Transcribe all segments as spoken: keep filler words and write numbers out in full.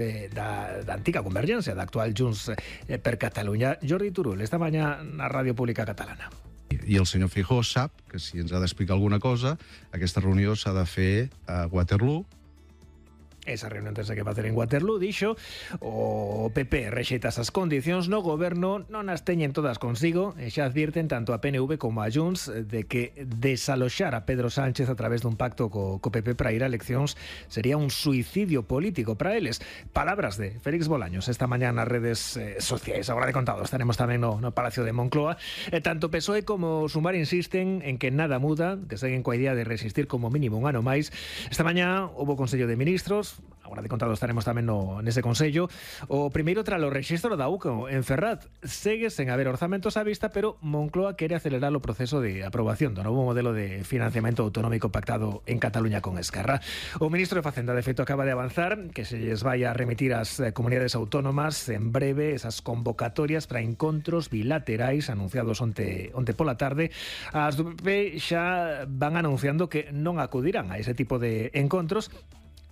Da, da antiga Convergencia, da actual Junts eh, per Catalunya. Jordi Turull, esta mañana na Ràdio Pública Catalana. I el senyor Feijóo sap que si ens ha d'explicar alguna cosa, aquesta reunió s'ha de fer a Waterloo. Esa reunión terse que facer en Waterloo, dixo, o P P rexeita esas condicións no goberno, non as teñen todas consigo, e xa advirten tanto a P N V como a Junts de que desaloxar a Pedro Sánchez a través dun pacto co, co P P para ir a eleccións sería un suicidio político para eles. Palabras de Félix Bolaños esta mañá nas redes eh, sociais. Agora de contado, estaremos tamén no, no Palacio de Moncloa. Eh, tanto P S O E como Sumar insisten en que nada muda, que seguen coa idea de resistir como mínimo un ano máis. Esta mañá houve Consello de Ministros. Agora de contado estaremos tamén no, nese Consello. O primeiro tralo rexistro da U C O en Ferraz. Segue sen haber orzamentos á vista, pero Moncloa quere acelerar o proceso de aprobación do novo modelo de financiamento autonómico pactado en Cataluña con Esquerra. O ministro de Facenda, de feito, acaba de avanzar que se lles vai a remitir ás comunidades autónomas en breve esas convocatorias para encontros bilaterais anunciados onte, onte pola tarde. As do P P xa van anunciando que non acudirán a ese tipo de encontros.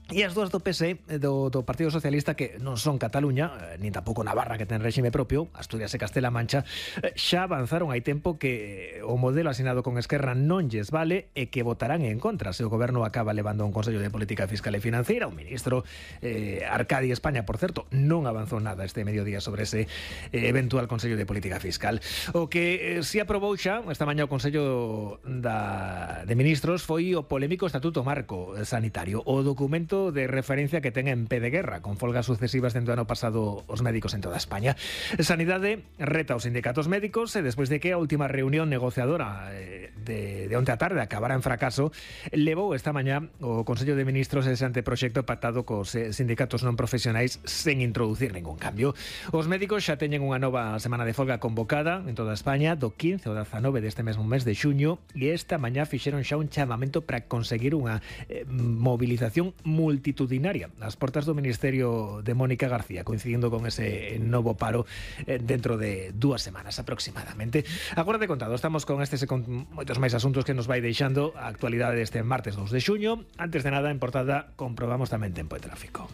E as dúas do P S E, do, do Partido Socialista, que non son Cataluña, nin tampouco Navarra, que ten réxime propio, Asturias e Castela-Mancha, xa avanzaron hai tempo que o modelo asinado con Esquerra non lles vale e que votarán en contra se o goberno acaba levando un Consello de Política Fiscal e Financiera. O ministro eh, Arcadi España, por certo, non avanzou nada este mediodía sobre ese eh, eventual Consello de Política Fiscal. O que eh, si aprobou xa esta mañá o Consello da, de Ministros foi o polémico Estatuto Marco Sanitario, o documento de referencia que ten en pé de guerra, con folgas sucesivas dentro do ano pasado os médicos en toda España. Sanidade reta aos sindicatos médicos e despois de que a última reunión negociadora eh, de, de onte a tarde acabara en fracaso, levou esta mañá o Consello de Ministros ese anteproxecto pactado cos eh, sindicatos non profesionais sen introducir ningún cambio. Os médicos xa teñen unha nova semana de folga convocada en toda España do quince ao dezanove deste mesmo mes de xuño, e esta mañá fixeron xa un chamamento para conseguir unha eh, movilización multitudinaria ás portas do Ministerio de Mónica García, coincidindo con ese novo paro eh, dentro de dúas semanas aproximadamente. Agora de contado, estamos con estes e con moitos máis asuntos que nos vai deixando a actualidade deste martes dous de xuño. Antes de nada, en portada, comprobamos tamén tempo e tráfico.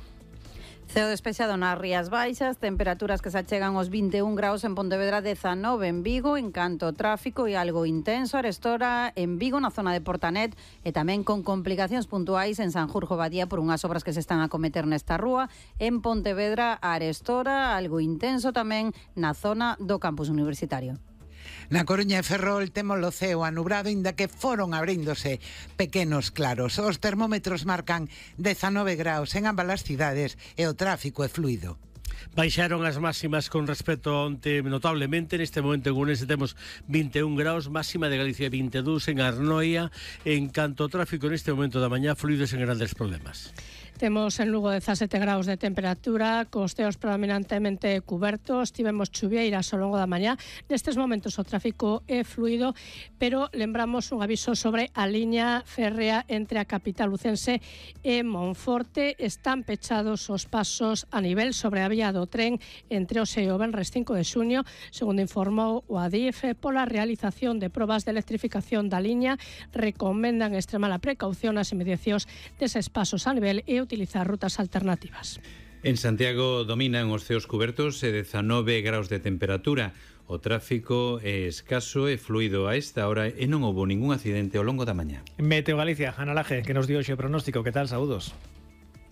Ceo despexado nas Rías Baixas, temperaturas que se achegan aos vinte e un graus en Pontevedra, dezanove en Vigo, en canto ao tráfico e algo intenso arestora en Vigo, na zona de Portanet, e tamén con complicacións puntuais en Sanjurjo Badía por unhas obras que se están a cometer nesta rúa. En Pontevedra, arestora, algo intenso tamén na zona do campus universitario. Na Coruña e Ferrol temos o ceo anubrado, inda que foron abríndose pequenos claros. Os termómetros marcan dezanove graus en ambas as cidades e o tráfico é fluido. Baixaron as máximas con respecto a onte notablemente. Neste momento en Ourense temos vinte e un graus, máxima de Galicia vinte e dous, en Arnoia. En canto ao tráfico neste momento da mañá, fluidos en grandes problemas. Temos en Lugo dezasete graus de temperatura, cos ceos predominantemente cubertos, tivemos chuvieiras ao longo da mañá. Nestes momentos o tráfico é fluido, pero lembramos un aviso sobre a liña férrea entre a capital lucense e Monforte. Están pechados os pasos a nivel sobre a vía do tren entre o e o venres cinco de xuño, segundo informou o Adif. Pola realización de probas de electrificación da liña, recomendan extremar a precaución nas inmediacións deses pasos a nivel e utilizar rutas alternativas. En Santiago dominan os ceos cubertos e dezanove graus de temperatura. O tráfico é escaso e fluido a esta hora e non houbo ningún accidente ao longo da mañá. Meteo Galicia, Ana Laje, que nos dio hoxe o pronóstico. Que tal? Saúdos.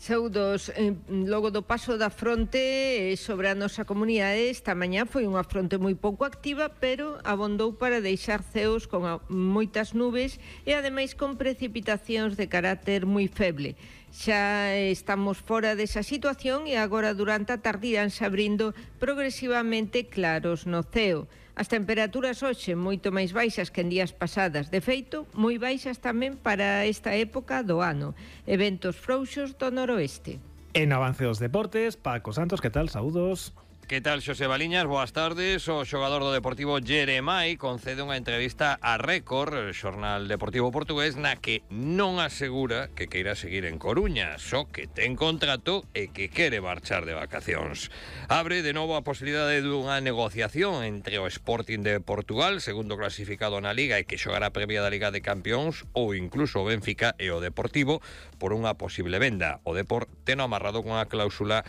Saúdos, eh, logo do paso da fronte sobre a nosa comunidade, esta mañá foi unha fronte moi pouco activa, pero abondou para deixar ceos con a, moitas nubes e ademais con precipitacións de carácter moi feble. Xa estamos fora desa situación e agora durante a tarde iránse abrindo progresivamente claros no ceo. As temperaturas hoxe moito máis baixas que en días pasadas, de feito, moi baixas tamén para esta época do ano. Eventos frouxos do noroeste. En avance dos deportes, Paco Santos, que tal? Saúdos. Que tal, Xosé Baliñas? Boas tardes. O xogador do Deportivo Jeremai concede unha entrevista a Récord, xornal deportivo portugués, na que non asegura que queira seguir en Coruña, só que ten contrato e que quere marchar de vacacións. Abre de novo a posibilidade dunha negociación entre o Sporting de Portugal, segundo clasificado na Liga e que xogará a previa da Liga de Campións, ou incluso o Benfica e o Deportivo por unha posible venda. O Depor ten amarrado con a cláusula